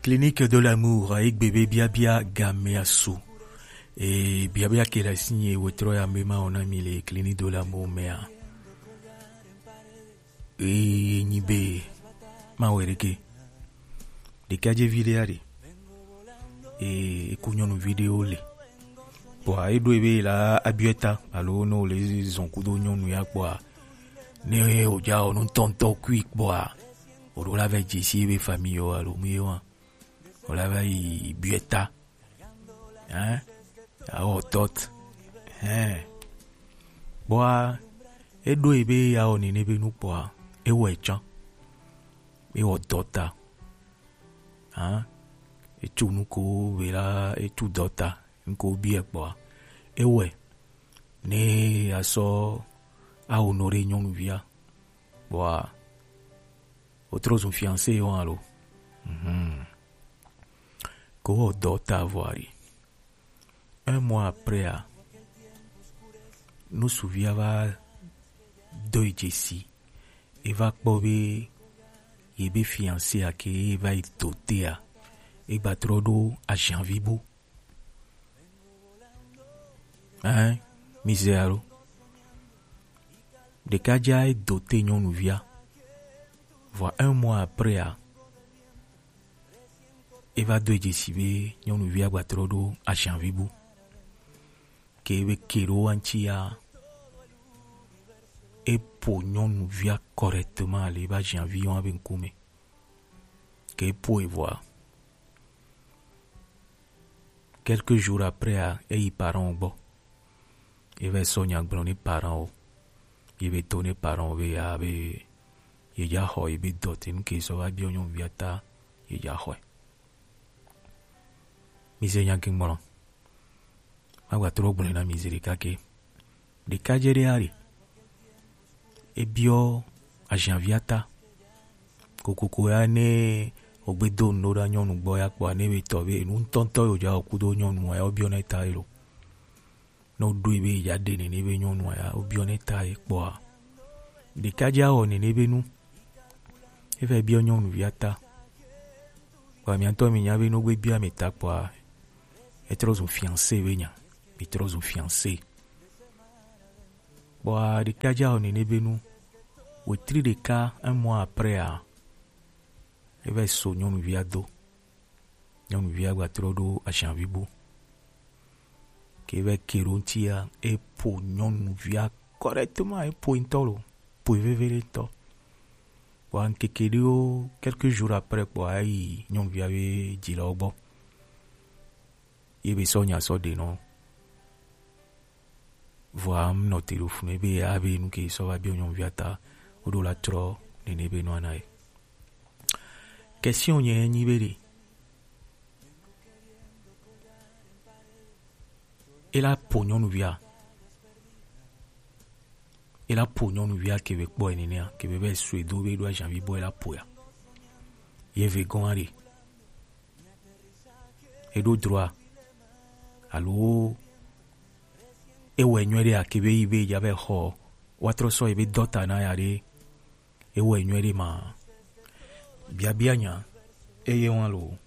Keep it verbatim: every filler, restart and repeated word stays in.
Clinique de l'amour, egbe be biabia game asu. E biabia ke la sinye wetrɔ ya me ma ona mi le Clinique de l'amour mea. E nyi be ma were ke. Ɖekadzevi ɖe aɖe. E eku nyɔnuvi ɖewo le. Kpɔa eɖo ebe la abiɔ ta alo ne wòle zɔn kudo nyɔnu ya kpɔa, ne wòdza wɔ nutɔntɔ kui kpɔa, wòɖo la va dze si ebe famille alo mu ye wa. Wòla va yi biɔ ta. Hein? Awɔ dɔt. Hein? Kpɔa eɖo ebe awɔ nene be nu kpɔa, ewɔe tsã. Ewɔ dɔta. Hein? Etsu nuko be la etsu dɔta. Nuko biɛ kpɔa, ewɔe ne asɔ awo no ɖe nyɔnuvia. Kpɔa wotrɔ zun fiancé wa lo. Mhm. Ko wɔ dɔta vɔ ari. Un mois après a, nusuvia va do yi dzesi. Eva kpɔ be yebe fiancé a ke eva yi dote a, egba trɔ ɖo ajanvi bo. Hein? Misère alo. Ɖekadza edo te nyɔnuvia. Vɔ un mois après a, eva do dzesi be nyɔnuvia gba trɔ ɖo ajanvi bu. Ke ebe ke ɖo wa ŋuti ya, epo nyɔnuvia correctement le ebe ajanvi wa be ŋkume. Ke epo evɔa, quelques jours après a, eyi parent wo gbɔ. Ye va sɔ nya gblɔ ne parent wo. Ye be to ne parent wo be ya be ye dza xɔ ye be dɔte nu ke sɔ va biɔ nyɔnuvia ta ye dza xɔe. Mi se nya ke ŋmlɔ. Ma gba trɔ gblɔ na mi zi ɖeka ke. Ɖekadze ɖe aɖe. Ebiɔ ajanvia ta. Kokoko ya ne wogbe do nu ɖo ɖa nyɔnu gbɔ ya kpɔa ne be tɔ be nu ŋutɔŋutɔ yo dza wɔ kudo nyɔnu ya wobiɔ ne ta ye lo. Ne woɖoe be ye dza ɖe nene be nyɔnua ya wobiɔ ne ta ye kpɔa. Ɖekadze awɔ nene be nu. Eva biɔ nyɔnuvia ta. Kpɔa mia ŋutɔ mi nya be ne wogbe biɔ ame ta kpɔa etrɔ zun fiancé be nya. Mi trɔ zun fiancé. Kpɔa ɖekadze awɔ nene be nu. Wetri ɖeka un mois après a, eva so nyɔnuvia do. Nyɔnuvia gba trɔ ɖo ajanvi bu. Ke eva ke ɖo ŋutia, epo nyɔnuvia correctement, epo ŋutɔ lo, po veve ɖe ŋutɔ. Kpɔa ŋkeke ɖewo, quelques jours après kpɔa eyi nyɔnuvia be dzilawo gbɔ. Ye be sɔ nya sɔ ɖe nɔ. Vɔa ŋnɔ te ɖo funu ebe abe nu ke sɔ va biɔ nyɔnuvia ta woɖo la trɔ nene be nua na ye. Question nye nyi be ɖe. Ela po nyɔnuvia. Ela po nyɔnuvia ke be kpɔ enenea ke be be sue do be ɖo ajanvi bɔ ela po ya. Ye ve gɔn aɖe. Eɖo droa alo ewɔe nyuie ɖe ake be yi be ya be xɔ woatrɔ sɔ yi be dɔta na ya ɖe ewɔe nyuie ɖe ma biabia nya eye wa lo